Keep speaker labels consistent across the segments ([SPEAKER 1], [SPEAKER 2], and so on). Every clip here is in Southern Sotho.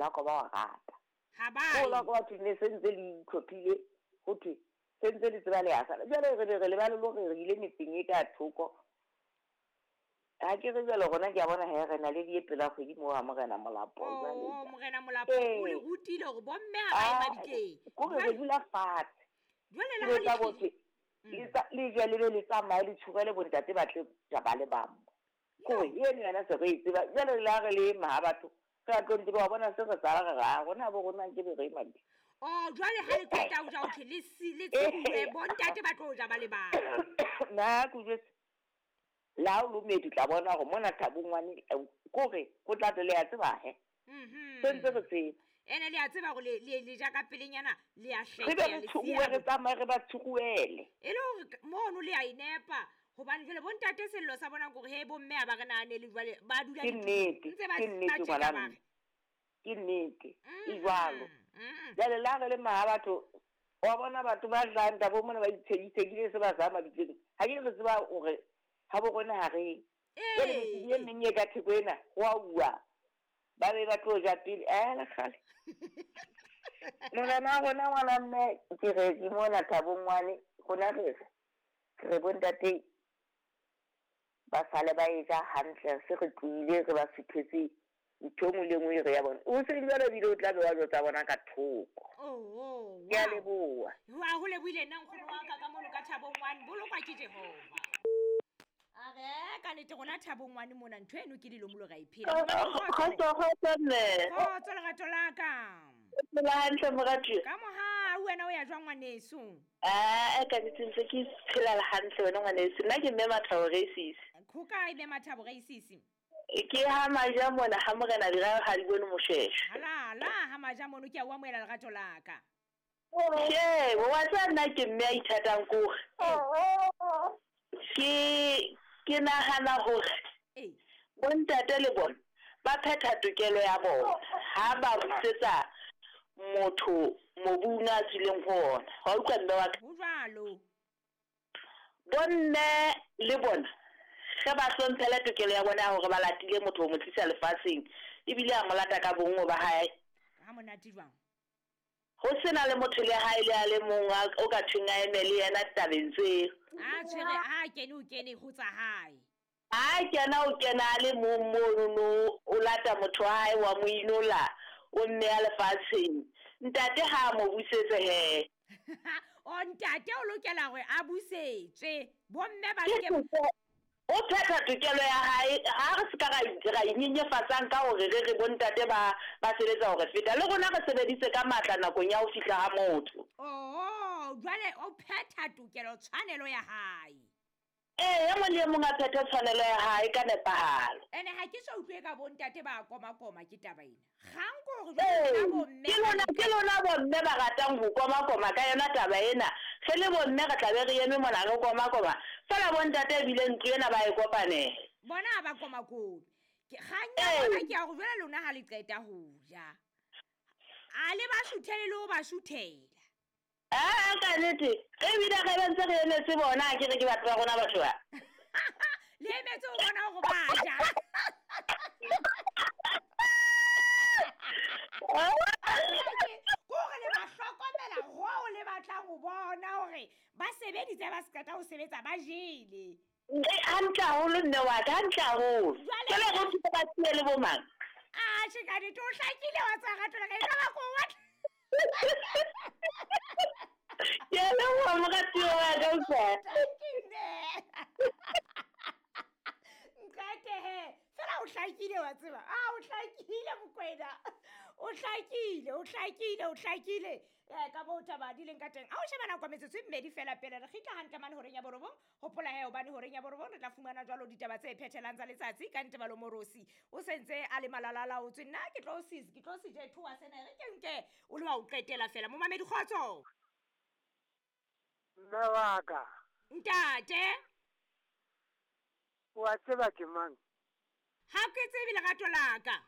[SPEAKER 1] Molako ba wa rata.
[SPEAKER 2] Ha ba
[SPEAKER 1] Ko la ko batho ne se ntse le itlhophile ho thwe se ntse le tseba le ya sala. Jwale re be re lebale le hore re ile metseng e ka thoko. Ha ke re jwale rona ke a bona he re na le di e pela kgwedi moo ha Morena Molapo jwale.
[SPEAKER 2] Oh, Morena Molapo o le rutile hore bomme ha ba ye mabitleng.
[SPEAKER 1] Ko re dula fatshe.
[SPEAKER 2] Jwale le
[SPEAKER 1] ha le le je le be le tsamaye le tshurele bontate ba tle ja ba le bang. Ko eno yona se re e tseba. Jwale le ha re le ma batho re a tlo ntse ba bona se re tsala re ra rona bo rona ke be re mabitleng.
[SPEAKER 2] Oh, jwale ha le qeta ho ja ho thwe le si le tshuwe bontate ba tlo ja ba le bang.
[SPEAKER 1] Na ke jwetse la o lomedi tla bona hore mona Thabong ngwane kore go tla le ya tseba he. Se ntse re tseba.
[SPEAKER 2] Ene le a tseba hore le ja ka pelenyana le a
[SPEAKER 1] Re be
[SPEAKER 2] hleke
[SPEAKER 1] re tshuwe re tsamaye re ba tshuwele.
[SPEAKER 2] E le hore mono le a inepa hobane jwale bontate sello sa bona hore he bomme ha ba re nahanele jwale ba dula
[SPEAKER 1] Ke nnete,
[SPEAKER 2] ntse ba
[SPEAKER 1] ke nnete
[SPEAKER 2] tjeka
[SPEAKER 1] ngwana
[SPEAKER 2] ba
[SPEAKER 1] mme.
[SPEAKER 2] re.
[SPEAKER 1] Ke nnete, e jwalo. Jwale le ha re le maha batho wa bona batho ba jang Thabo mona ba itshekile se ba sa mabitleng. Ha ke re tseba hore ha bo rona ha re. Jwale metseng e meng e ka theko ena ho a uwa. Ba be ba tlo ja pele le kgale. Morena wa rona ngwana mme ke re ke mona Thabong ngwane rona re re bontate ba sale ba e ja hantle se re tlohile re ba suthetse ntho e nngwe le nngwe e re ya bona. O se jwale ebile o tla be wa jwetsa bona ka thoko.
[SPEAKER 2] Oh,
[SPEAKER 1] Ke a leboha.
[SPEAKER 2] Wa ho lebohile nna nkgono wa ka ka mono ka Thabong ngwane bolokwa ke Jehova. A re ka nnete rona Thabong ngwane mona ntho eno ke lelomolo ra e phela.
[SPEAKER 3] Kgotso kgotso mme.
[SPEAKER 2] Kgotso lerato la ka.
[SPEAKER 3] Phela hantle moratuwa.
[SPEAKER 2] Ka mohau wena o ya jwang ngwaneso?
[SPEAKER 3] Ah, ka nnete ntse ke phela hantle wena ngwaneso. Nna ke mme Mathabo Reisisi.
[SPEAKER 2] Ho kae mme Mathabo Reisisi?
[SPEAKER 3] Ke ha Maja mona ha Morena Dira ha di bone Moshweshwe.
[SPEAKER 2] Halala ha Maja mono ke a o amohela lerato la ka.
[SPEAKER 3] Tjhe, wa tseba nna ke mme a ithatang kore. Ke nahana hore bontate le bona ba phetha tokelo ya bona ha ba busetsa motho mobung a tswileng ho ona. Wa utlwa mme wa ka?
[SPEAKER 2] Ho jwalo.
[SPEAKER 3] Bomme le bona ge ba hlomphela tokelo ya bona ya hore ba latile motho ho mo tlisa lefatsheng ebile a mo lata ka bonngwe ba hae.
[SPEAKER 2] Ha monate jwang?
[SPEAKER 3] Ho sena le motho le hae le a le mong o ka thweng a eme le yena tabeng tseo.
[SPEAKER 2] A tshwere a kene o kene ho tsa hae.
[SPEAKER 3] A kena o kena a le mong mono o lata motho wa hae wa mo inola o mme a lefatsheng. Ntate ha a mo busetse he.
[SPEAKER 2] O ntate o lokela hore a busetswe. Bomme ba ke
[SPEAKER 3] o phetha tokelo ya hae ha re se ka ra inyenyefatsang ka hore re re bontate ba sebetsa hore feta le rona re sebeditse ka matla nakong ya ho fihla ha motho.
[SPEAKER 2] Oh, jwale o phetha tokelo tshwanelo ya hae.
[SPEAKER 3] E mong le mong a phethe tshwanelo ya hae ka nepahalo.
[SPEAKER 2] Ene ha ke so utlwe ka bontate ba koma-koma ke taba ena. Kgang ke hore jwale lona bomme
[SPEAKER 3] Ke lona bomme ba ratang ho koma-koma ka yona taba ena. Re le bomme re tla be re eme mona re koma-koma. Fela bontate ebile ntlo ena ba e kopanela.
[SPEAKER 2] Bona ha ba koma-kome. Kgang ya bona ke ya hore jwale lona ha le qeta ho ja. A le ba shuthele le ho ba shuthela.
[SPEAKER 3] Ah, ka nnete. Ebile re ba ntse re emetse bona, ke re ke batho ba rona batho ba.
[SPEAKER 2] Le emetse ho bona hore ba ja. Kore le ba hlokomela hoo le batlang ho bona hore ba sebeditse ba se qeta ho sebetsa ba jele.
[SPEAKER 3] Hantle haholo mme wa ka, hantle haholo.
[SPEAKER 2] Jwale
[SPEAKER 3] Ke le re ba tie le bo mang?
[SPEAKER 2] Ah, tjhe ka nnete o hlakile wa tsa rato la ka e ka ba ko wa.
[SPEAKER 3] Ke a leboha moratuwa wa ka utlwa.
[SPEAKER 2] Thank you, mme. Nqete he. Fela o hlakile wa tseba. Ah, o hlakile Mokwena. O hlakile, o hlakile, o hlakile. Ka moo taba di leng ka teng. A o sheba nako metsotso e mmedi fela pele re kgitla hantle mane horeng ya borobong. Hopola he hobane horeng ya borobong re tla fumana jwalo ditaba tse phethelang tsa letsatsi ka Ntebalo Morosi. O sentse a le malalala o tswe nna ke tlo sis, ke tlo se je thoa sena re ke nke o le wa o qetela fela. Momamedi kgotso.
[SPEAKER 4] Mme wa ka.
[SPEAKER 2] Ntate.
[SPEAKER 4] Wa tseba ke mang?
[SPEAKER 2] Ha ke tsebe lerato la ka.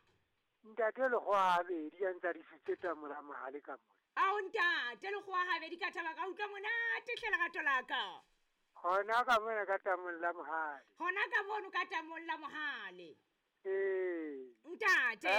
[SPEAKER 4] Ntate Lekgowa habedi a ntsa disitse tamola mohale ka mona.
[SPEAKER 2] Ao ntate Lekgowa habedi ka thaba ka utlwa monate hle lerato la ka.
[SPEAKER 4] Hona ka mona ka tamong la mohale.
[SPEAKER 2] Hona ka mono ka tamong la mohale.
[SPEAKER 4] Ee.
[SPEAKER 2] Ntate.